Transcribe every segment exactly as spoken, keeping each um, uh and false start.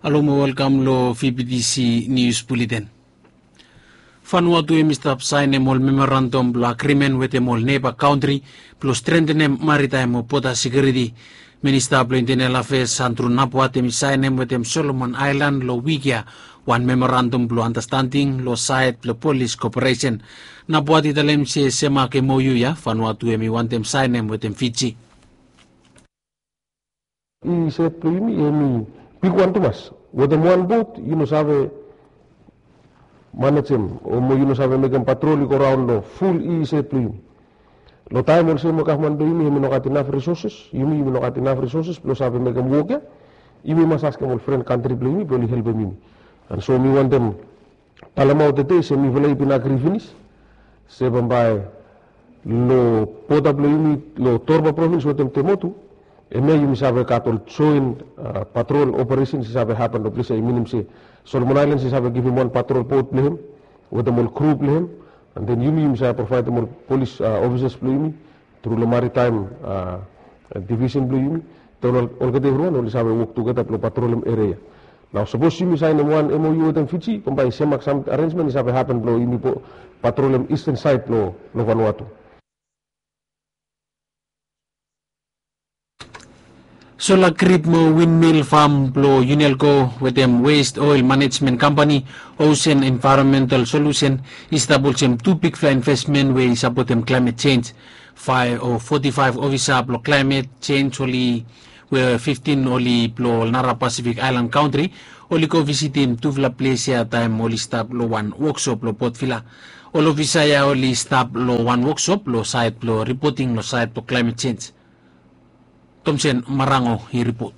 Alo mo welkam lo V B T C News Bulletin. Vanuatu hem i stap saenem ol memorandum blo agrimen wetem ol neba kantri blo strentenem maritaem o boda sekiuriti. Minista blo Intenel Afeas Andrew Napuat hem i saenem wetem Solomon Aelan lo wik ya wan memorandum blo andastanding lo saed blo polis koperesen. Napuat i talem se semak MOU ya Vanuatu hem i wantem saenem wetem Fiji. I set blong yumi hem i bigwan tumas. Wetem wan bot yu no save manejem o mo yu no save mekem patrol i go raon lo ful i set blong yumi. Lo taem olsem we gavman blong yumi hem i no gat inaf risoses, yumi yumi no gat inaf risoses blong save mekem wok ya. Yumi mas askem ol fren kantri blong yumi blong oli helpem yumi. An so mi wantem talemaot tede se mifala i bin agri finis se bambae lo boda blong yumi lo Torba provins wetem Temotu, hemia yumi save gat ol joen patrol operesens i save hapen lo ples ya, i minim se Solomon Aelans i save givim wan patrol bot blong hem wetem ol kru blong hem. An den yumi yumi save provaedem ol polis ofisas blong yumi tru lo maritaem divisen blong yumi. Taem olgeta evriwan oli save wok tugeta blong patrolem eria ya. Nao sapos yumi saenem wan MOU wetem Fiji bambae semak sam arenjmen i save hapen blong yumi patrolem isten saed blong Vanuatu. Sola grip mo windmil fam blong Unelco wetem West Oil Manejmen Kampani, Ocean Environmental Solution, i stap olsem tu bigfala invesmen we i sapotem klaemet jenj. Faef o foti faef ofisa blong klaemet jenj oli we fiftin oli blong ol nara Pasifik aelan kantri oli go visitim tufala ples ya taem oli stap long wan woksop long Port Vila. Ol ofisa ya oli stap long wan woksop long saed blong ripoting long saed blong klaemet jenj. Tomsen Marango i ripot.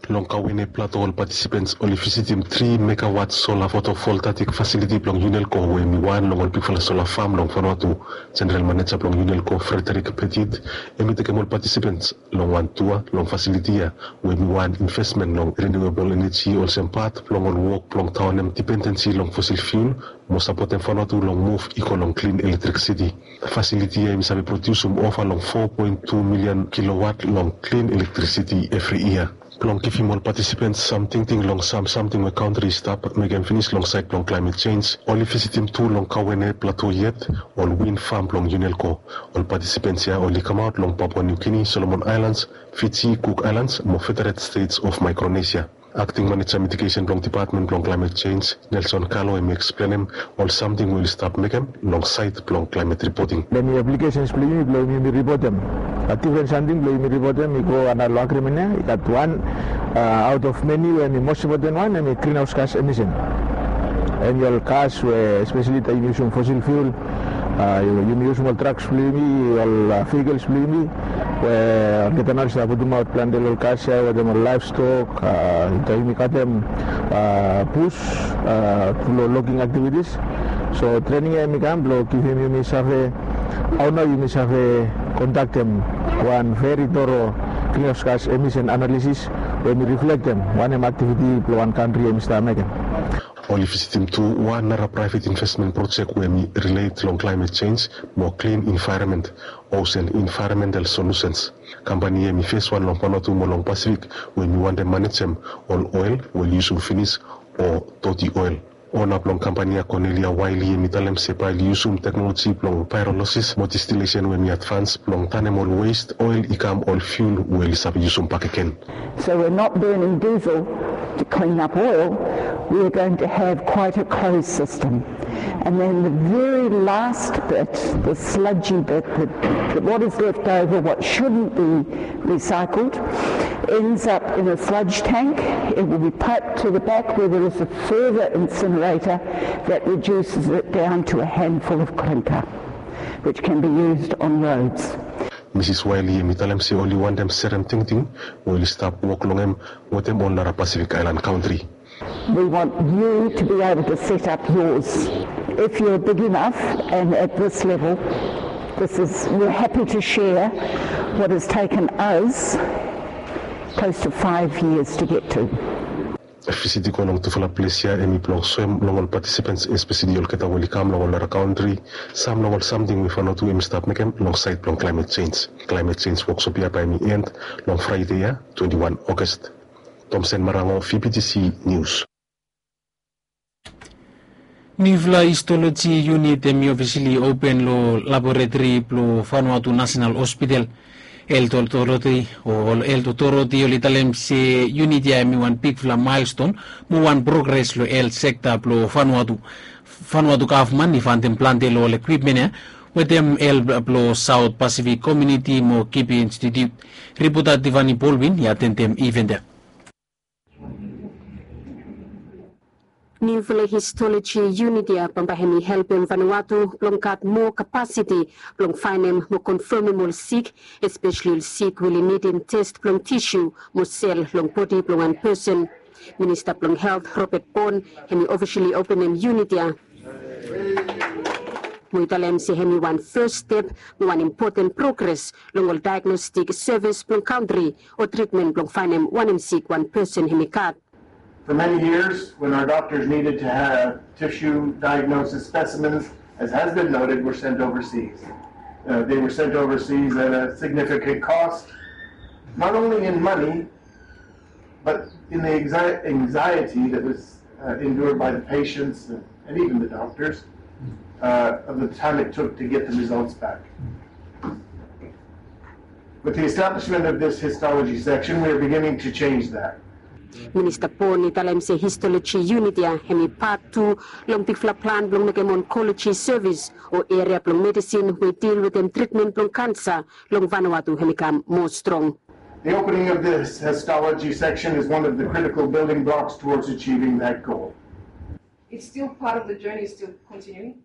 Long Kauene Plato ol patisipens oli visitim tri megawat sola fotovoltaik fasiliti blong Unelco we hem i wan long ol bigfala sola fam long Vanuatu. Jeneral maneja blong Unelco Frederick Petit hem i tekem ol patisipens long wan tua long fasiliti ya we hem i wan invesmen long riniuebol eneji olsem pat blong ol wok blong taonem dipendensi long fosil fiul mo sapotem Vanuatu long muv i go long klin elektrisiti. Fasiliti ya hem i save prodiusim ova long fo poen tu milian kilowat long klin elektrisiti evri yia. Blong givim ol patisipens sam tingting long sam samting we kantri i stap mekem finis long saed blong klaemet jenj, oli visitim tu long Kauene Plato yet ol win fam blong Unelco. Ol patisipens ya oli kamaot long Papua New Guinea, Solomon Aelans, Fiji, Cook Aelans mo Federated States of Micronesia. Akting maneja mitigesen blong dipatmen blong klaemet jenj, Nelson Kalo hem i eksplenem ol samting we oli stap mekem long saed blong klaemet ripoting. Hem i aplikesens blong yumi blong yumi ripotem. Bat difren samting blong yumi ripotem i go antap long agrimen ya, i gat wan aot of meni we hem i mos impoten wan hem i grinhaos gas emisen. Hem i ol gas we espeseli taem yumi yusum fosil fiul, yumi yusum ol traks blong yumi, ol vehikels blong yumi we olgeta nao oli save putumaot plante long ol gas ya wetem ol laevstok, taem yumi katem bus tru long logging aktivitis. So trening ya hem i kam blong givim yumi save hao nao yumi save kondaktem wan veri toro grinhaos gas emisen analisis we hem i riflektem wanem aktiviti blong wan kantri hem i stap mekem. Oli visitim tu wan nara praevet invesmen projek we hem i rilet long klaemet jenj mo klin envaeronmen, Ocean Environmental Solutions. Kampani ya hem i feswan long Vanuatu mo long Pasifik we hem i wantem manejem ol oel we oli yusum finis o doti oel. Ona blong kampani ya, Cornelia Wiley, hem i talem se bae oli yusum teknoloji blong paerolosis mo distilesen we hem i advans blong tanem ol west oel i kam ol fiul we oli save yusum bakegen. So we're not burning diesel to clean up oil, we are going to have quite a closed system. And then the very last bit, the sludgy bit, the, the, what is left over, what shouldn't be recycled, ends up in a sludge tank. It will be piped to the back where there is a further incinerator that reduces it down to a handful of clinker, which can be used on roads. Misis Wiley hem i talem se oli wantem serem tingting we oli stap wok long hem wetem ol nara Pasifik aelan kantri. We want you to be able to set up yours. If you're big enough and at this level, this is, we're happy to share what has taken us close to five years to get to. Visit i go long tufala ples ya hem i blong soem long ol patisipens, espeseli olgeta we oli kam long ol nara kantri, sam long ol samting we Vanuatu hem i stap mekem long saed blong klaemet jenj. Klaemet jenj woksop ya bae hem i end long Fraede ya, twenti wan August. Tomsen Marango, V P T C News. Niufala histoloji yunit hem i ofisili open long laboratori blong Vanuatu National Hospital. Health Authority o Health Authority oli talem se yunit ya hem i wan bigfala milestone mo wan progres long health sekta blong Vanuatu. Vanuatu gavman i fantem plante long ol ekwipmen ya wetem help blong South Pacific Community mo Kipi Institute. Ripota Tiffany Baldwin i atendem iven ya. Niufala histoloji yunit ya bambae hem i helpem Vanuatu blong gat moa kapasiti blong faenem mo konfamem ol sik, espeseli ol sik we oli nidim tes blong tisu mo sel long bodi blong wan pesen. Minista blong Helt Robert Borne hem i ofisili openem yunit ya mo i talem se hem i wan fes step mo wan impoten progres long ol daegnostik sevis blong kantri o tritmen blong faenem wanem sik wan pesen hem i gat. For many years, when our doctors needed to have tissue diagnosis specimens, as has been noted, were sent overseas. Uh, they were sent overseas at a significant cost, not only in money, but in the anxi- anxiety that was uh, endured by the patients and, and even the doctors uh, of the time it took to get the results back. With the establishment of this histology section, we are beginning to change that. Minista Borne i talem se histoloji yunit ya hem i pat tu long bigfala plan blong mekem onkoloji sevis o eria blong medisin we i dil wetem tritmen blong kansa long Vanuatu hem i kam moa strong. The opening of this histology section is one of the critical building blocks towards achieving that goal. It's still part of the journey, it's still continuing.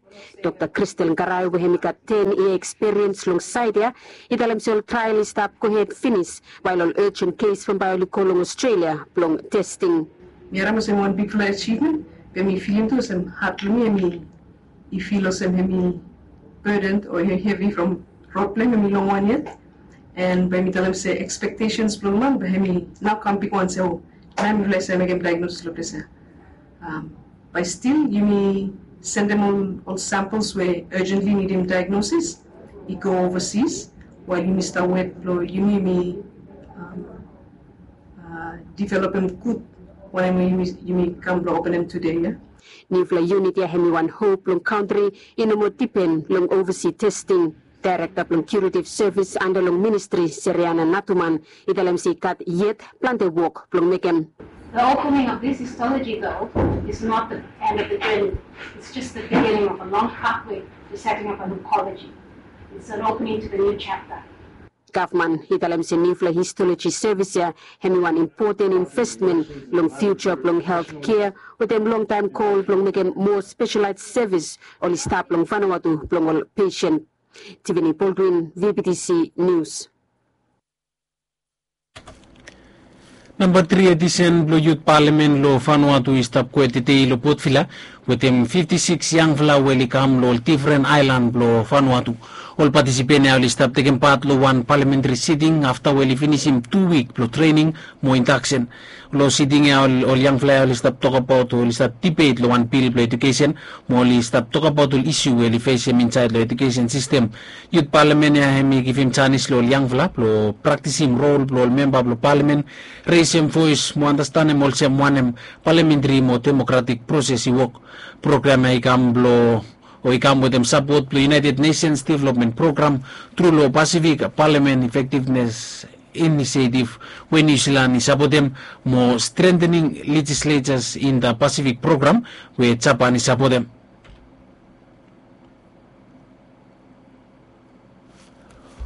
Dr. Crystal Ngarai we hem i gat ten yia ekspiriens long saed ya i talem se ol trael i stap gohed finis wael ol urgent kes bambae oli go long Australia blong testing. Mi harim olsem wan bigfala achievement, be mi filim tu olsem hat blong mi hem i fil olsem hem i burden o hem i hevi from rod blong hem hem i long wan yet. And bae mi talem se expectations blong man bae hem i nao kam bigwan se o, nao mifala i save mekem diagnosis long ples ya. Bae stil yumi sendem ol samples we urgently nidim diagnosis i go overseas, wael yumi stap wet blong yumi yumi developem gud wanem we yumi kam blong openem tude ya. Niufala yunit ya hem i wan hop blong kantri i no moa dipen long ovasi testing. Daerekta blong kiuretiv sevis anda long ministri, Seriana Natuman, i talem se i gat yet plante wok blong mekem. The opening of this histology, though, is not the end of the journey. It's just the beginning of a long pathway to setting up an oncology. It's an opening to the new chapter. Gavman i talem se niufala histoloji sevis ya hem i wan impoten investmen long fiuja blong helt kea wetem longtaem gol blong mekem moa speselaes sevis oli stap long Vanuatu blong ol pesen. Tiffany Baldwin, V B T C News. Namba tri edisen blong yut palamen long Vanuatu i stap kwet tedei long Port Vila wetem fifti sikis yangfala we oli kam long ol difren aelan blong Vanuatu. Ol patisipen ya oli stap tekem pat long wan palamentri siting afta we oli finisim tu wik blong trening mo indaksen. Long siting ya ol yangfala ya oli stap tokabaot o oli stap dibet long wan bil blong ejukesen mo oli stap tokabaot ol isu we oli fesem insaed long ejukesen sistem. Yut palamen ya hem i givim janis long ol yangfala blong praktisim rol blong ol memba blong palamen, resem voes mo andastanem olsem wanem palamentri mo demokratik proses i wok. Program ya i kam blong o i kam wetem sapot blong United Nations Development Program tru long Pacific Parliament Effectiveness Initiative we New Zealand i sapotem mo Strengthening Legislatures in the Pacific Program we Japan i sapotem.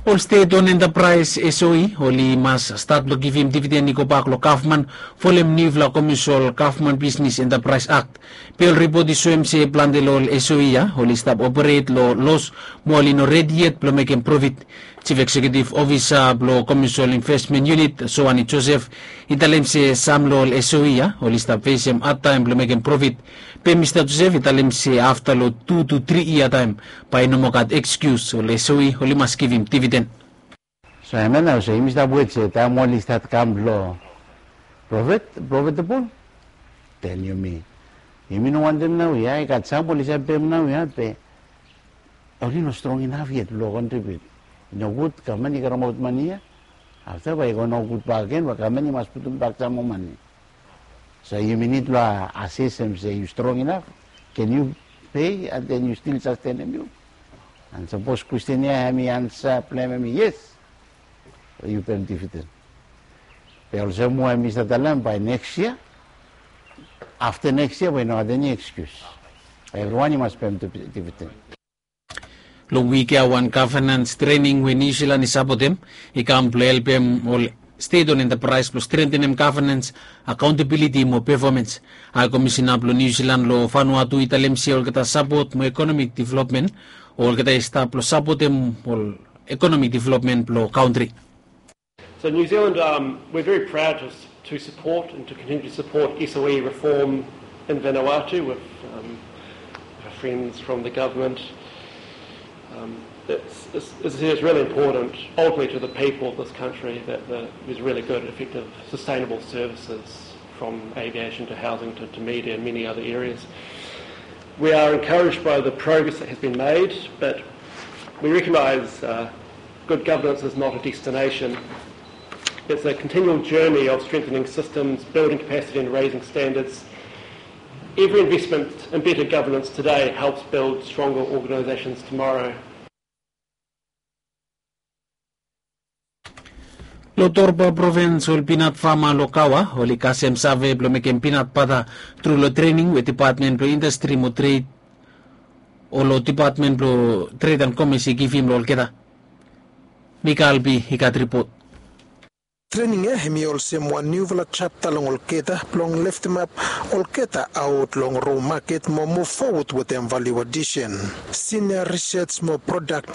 Ol stet on entapraes S O E oli mas stat blong givim dividen i gobak long gavman folem niufala komisol Gavman Bisnis Entapraes Akt. Be ol ripot i soem se plante long ol S O E ya oli stap operet long los mo oli no redi yet blong mekem profit. Jif Eksekiutif Ofisa blong Komisol Investmen Yunit, Soani Josef, i talem se sam long ol S O E ya oli stap fesem hadtaem blong mekem profit. Be Mista Josef i talem se afta long tu tu tri yia taem bae i no moa gat ekskius, ol S O E oli mas givim dividen. So hemia nao olsem yumi stap wet se taem oli stat kam long profit, profitable, then yumi, yumi no wantem nao ya, i gat sam oli save pem nao ya be oli no strong inaf yet blong kontribiut. I nogud gavman i karemaot mane ya, afta bae i go nogud bakegen, bae gavman i mas putum bak sam moa mane. So yumi nid blong ases hem se yu strong inaf, ken yu pei and then yu stil sastenem yu? And sapos kwestin ya hem i ansa blong hem hem i yes, yu pem dividend. Be olsem we mi save talem bae neks yia, afta neks yia bae i no gat eni ekskius. Evriwan i mas pem dividend. Long wik ya wan gavenans trening we Niu Silan i sapotem i kam blong helpem ol stet ol entapraes blong strengtenem gavenans, akaontabiliti mo pefomens. Hae komisina blong Niu Silan long Vanuatu i talem se olgeta sapot mo ekonomik developmen, olgeta i stap blong sapotem ol ekonomik developmen blong kantri. So New Zealand, um, we're very proud to, to support and to continue to support S O E reform in Vanuatu with um, our friends from the government. Um, it's, it's, it's really important, ultimately to the people of this country, that the, there's really good, effective, sustainable services from aviation to housing to, to media and many other areas. We are encouraged by the progress that has been made, but we recognise uh, good governance is not a destination. It's a continual journey of strengthening systems, building capacity and raising standards. Every investment in better governance today helps build stronger organisations tomorrow. Long Torba provins, ol pinat fama long Kawa oli kasem save blong mekem pinat bata tru long trening we Dipatmen blong Indastri mo Tred o long Dipatmen blong Tred and Komes i givim long olgeta. Mika Albi i gat ripot. Trening ya hem i olsem wan niufala japta long olgeta blong leftemap olgeta aot long ro maket mo muv fowod wetem valiu adisen. Sinia risej mo prodak